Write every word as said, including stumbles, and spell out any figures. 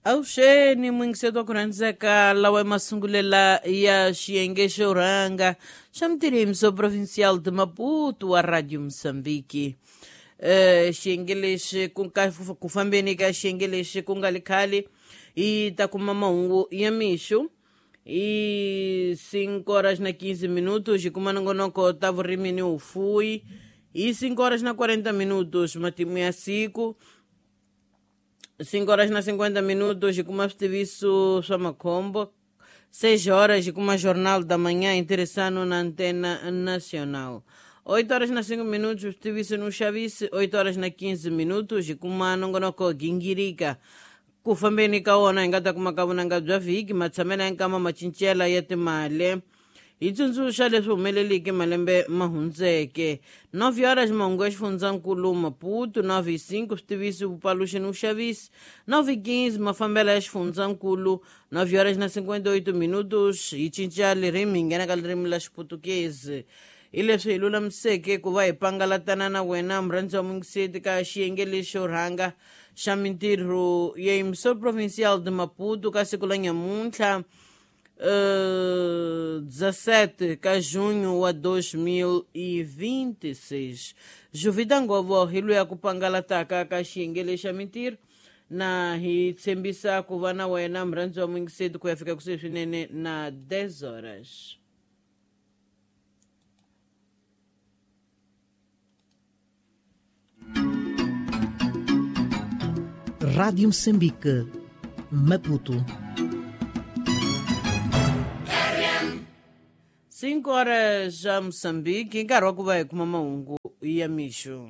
Avuxeni muyingiseri wa ku rhandzeka lawa masungulela ya xiyenge xo rhanga xa mitirhimiso Provincial de Maputo wa Radio Mozambique. Eh xiyenge lexi ku ka ku fambeni ka xiyenge lexi ku nga li khale hi ta kuma mahungu ya mixo hi cinco horas na quinze minutos hi kuma nongonoko ta vurimi ni vufuwi hi cinco horas na quarenta minutos matimu ya siku cinco horas na cinquenta minutos hi kuma switiviso swa makhombo seis horas hi kuma Jornal da Manhã interessando na Antena Nacional. oito horas na cinco minutos switiviso no Xavisi, oito horas na quinze minutos hi kuma nongonoko Gingirika. Ku fambeni ka wona hi nga ta kuma ka vunanga bya vhiki matshamelo ya nkama macincelo ya timali hi tsundzuxa leswi humeleleke malembe ma hundzeke. nove horas mahungu ya xifundzankulu Maputo, nove e cinco switiviso vupaluxi ni vuxavisi, nove e quinze mafambelo ya xifundzankulu, nove horas na cinquenta e oito minutos hi cinca ririmi hi nghena ka ririmi la Xiputukezi. Hi leswi hi lulamiseke ku va hi pangalatana na wena murhandzi wa muyingiseri ka xiyenge lexo rhanga xa mintirho ya Emissor Provincial de Maputo ka siku la nyamuntlha uh, dezessete ka junho wa dois mil e vinte e seis. Juvida Ngovo hi luya ku pangalataka ka xiyenge lexa mintirho na hi tshembisa ku va na wena murhandzi wa muyingiseri ku ya fika kusuhi swinene na dez horas. Rádio Moçambique, Maputo. Cinco horas já Moçambique, nkarhi wa ku va hi kuma mahungu ya mixo.